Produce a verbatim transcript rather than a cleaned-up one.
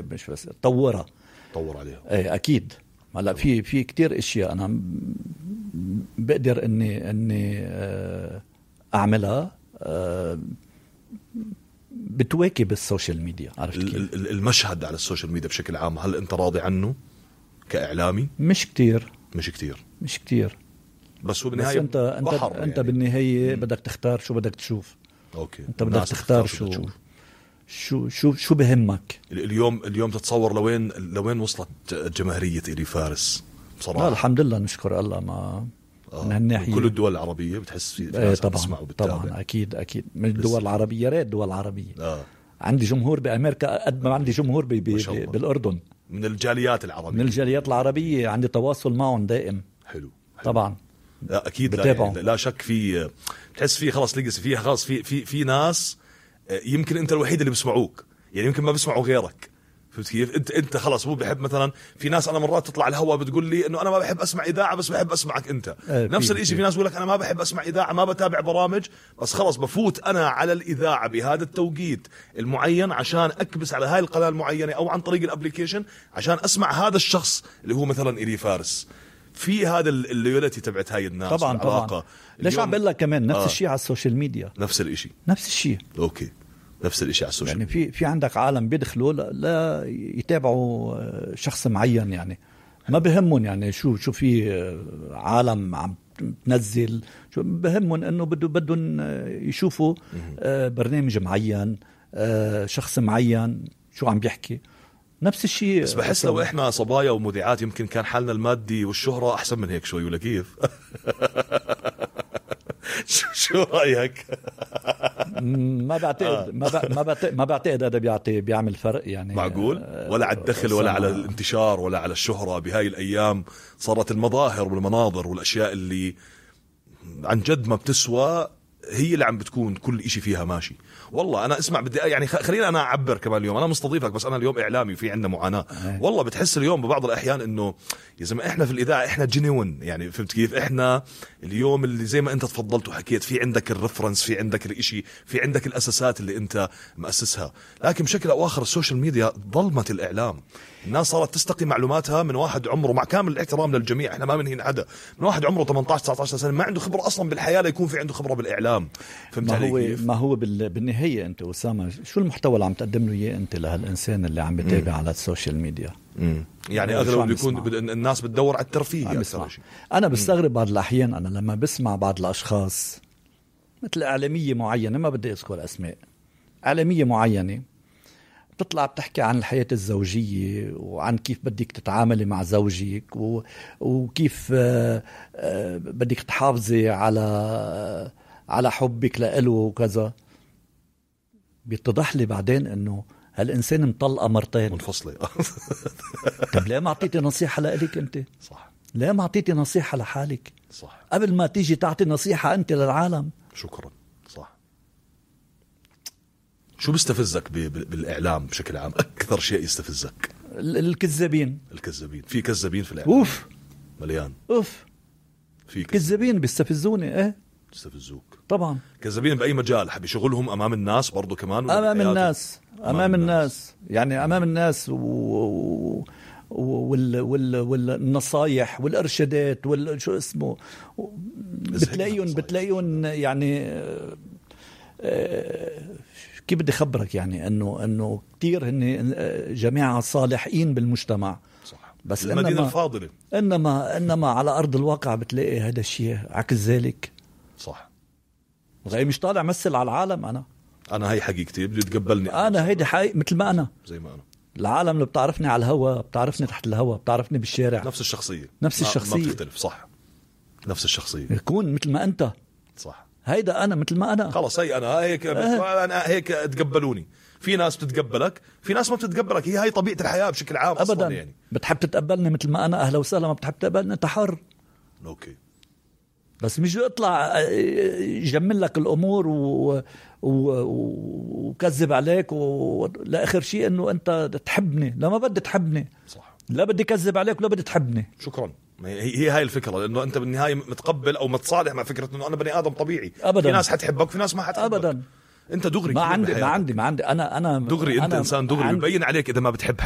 مش بس طورها طور عليها. ايه اكيد. هلا في في كتير اشياء انا بقدر اني اني اعملها بتواكب السوشيال ميديا. عرفت كيف؟ المشهد على السوشيال ميديا بشكل عام هل انت راضي عنه كاعلامي؟ مش كتير مش كتير مش كتير بس هو بالنهايه انت انت انت يعني. بالنهايه بدك تختار شو بدك تشوف. اوكي انت بدك تختار شو شو شو شو شو بهمك. اليوم اليوم تتصور لوين لوين وصلت جماهيرية إلي فارس بصراحة؟ الحمد لله نشكر الله. ما آه. من هالناحية كل الدول العربية بتحس في, في ايه طبعا وبتتابع. طبعا اكيد اكيد من الدول العربية. يا ريت الدول العربية. آه. عندي جمهور بأمريكا قد ما عندي جمهور بي بي بالأردن. من الجاليات العربية. من الجاليات العربية عندي تواصل معهم دائم. حلو, حلو. طبعا لا أكيد لا, يعني لا شك في بتحس فيه خلاص ليجاسي فيه خلاص في في في ناس يمكن أنت الوحيد اللي بيسمعوك يعني يمكن ما بيسمعوا غيرك. فهمت كيف؟ انت انت خلاص مو بحب مثلا في ناس انا مرات تطلع الهوا بتقول لي انه انا ما بحب اسمع اذاعه بس بحب اسمعك انت. اه نفس الشيء في ناس بيقول لك انا ما بحب اسمع اذاعه ما بتابع برامج بس خلاص بفوت انا على الاذاعه بهذا التوقيت المعين عشان اكبس على هاي القناه المعينه او عن طريق الابليكيشن عشان اسمع هذا الشخص اللي هو مثلا إلي فارس. في هذا اللويالتي تبعت هاي الناس طبعا طبعا. ليش عم بقول لك كمان نفس آه. الشيء على السوشيال ميديا. نفس الشيء نفس الشيء. اوكي نفس الشيء على السوشيال يعني في في عندك عالم بيدخلوا لا, لا يتابعوا شخص معين يعني ما بهمهم يعني شو شو في عالم عم تنزل شو بهمهم انه بده بدهم يشوفوا برنامج معين شخص معين شو عم بيحكي. نفس الشيء. بس بحس لو احنا صبايا ومذيعات يمكن كان حالنا المادي والشهرة احسن من هيك شوي ولا كيف؟ شو رأيك؟ ما بعتقد ما ما بعتقد ما بعتقد هذا بيعطي بيعمل فرق يعني. معقول؟ ولا على الدخل ولا على الانتشار ولا على الشهرة. بهاي الأيام صارت المظاهر والمناظر والأشياء اللي عن جد ما بتسوى هي اللي عم بتكون كل إشي فيها ماشي. والله أنا اسمع بدي يعني خلينا أنا أعبر كمان اليوم أنا مستضيفك بس أنا اليوم إعلامي وفي عندنا معاناة. والله بتحس اليوم ببعض الأحيان إنه يا زلمة إحنا في الإذاعة إحنا جينيون يعني فهمت كيف؟ إحنا اليوم اللي زي ما أنت تفضلت وحكيت في عندك الرفرنس في عندك الإشي في عندك الأساسات اللي أنت مؤسسها. لكن بشكل أو آخر السوشيال ميديا ظلمت الإعلام. الناس صارت تستقي معلوماتها من واحد عمره مع كامل الاحترام للجميع إحنا ما بنهين حدا من واحد عمره ثمانية عشر تسعة عشر سنة ما عنده خبرة أصلا بالحياة ليكون في عنده خبرة بالإعلام. فهمت ما هو كيف؟ ما هو بالنهاية أنت أسامة شو المحتوى اللي عم تقدم له إياه أنت لهالإنسان اللي عم بتابع على السوشيال ميديا؟ مم. يعني أغلب بيكون الناس بتدور على الترفيه. أنا بستغرب بعض الأحيان أنا لما بسمع بعض الأشخاص مثل إعلامية معينة ما بدي أذكر أسماء إعلامية معينة بتطلع بتحكي عن الحياة الزوجية وعن كيف بدك تتعاملي مع زوجك و... وكيف آ... آ... بدك تحافظي على آ... على حبك لإله وكذا. بيتضح لي بعدين إنه هالإنسان مطلقة مرتين منفصلة. طب ليه ما أعطيتي نصيحة لإلك أنت؟ صح. ليه ما أعطيتي نصيحة لحالك؟ صح. قبل ما تيجي تعطي نصيحة أنت للعالم. شكرا. صح. شو بيستفزك بالإعلام بشكل عام؟ أكثر شيء يستفزك الكذابين. الكذابين. في كذابين في الإعلام. أوف. مليان. أوف. في كذابين بيستفزوني. إيه. يستفزوك. طبعا. كذابين بأي مجال حب يشغلهم أمام الناس برضو كمان. أمام الناس. أمام, أمام الناس. الناس. يعني أمام الناس و... وال... وال... والنصايح والإرشادات وال شو اسمه بتلاقيهم بتلاقيهم يعني كيف بدي خبرك يعني انه انه كثير هن جماعه صالحين بالمجتمع. صح. بس المدينه إنما الفاضله انما انما على ارض الواقع بتلاقي هذا الشيء عكس ذلك. صح. غير مش طالع مثل على العالم. انا انا هي حقيقتي بدي تقبلني انا هيدي حقيقة مثل ما انا زي ما انا. العالم اللي بتعرفني على الهواء بتعرفني تحت الهواء بتعرفني بالشارع. نفس الشخصيه نفس الشخصيه ما بتختلف. صح. نفس الشخصيه يكون مثل ما انت. صح. هيدا أنا مثل ما أنا. خلاص هي أنا هيك أه. أنا هيك تقبلوني. في ناس بتتقبلك في ناس ما بتتقبلك. هي هاي طبيعة الحياة بشكل عام أبدا أصلا يعني. بتحب تتقبلني مثل ما أنا أهلا وسهلا. ما بتحب تقبلني أنت حر. أوكي. بس مش اطلع يجمل لك الأمور و... و... وكذب عليك و... لآخر شيء إنه أنت تحبني. لا ما بدي تحبني. صح. لا بدي كذب عليك ولا بدي تحبني. شكرا. هي هاي الفكرة لأنه أنت بالنهاية متقبل أو متصالح مع فكرة إنه أنا بني آدم طبيعي. أبدا. في ناس حتحبك في ناس ما حتحبك. أبدا. أنت دغري ما عندي ما عندي ما عندي أنا أنا دغري أنت أنا إنسان دغري بيبين عليك إذا ما بتحب حد.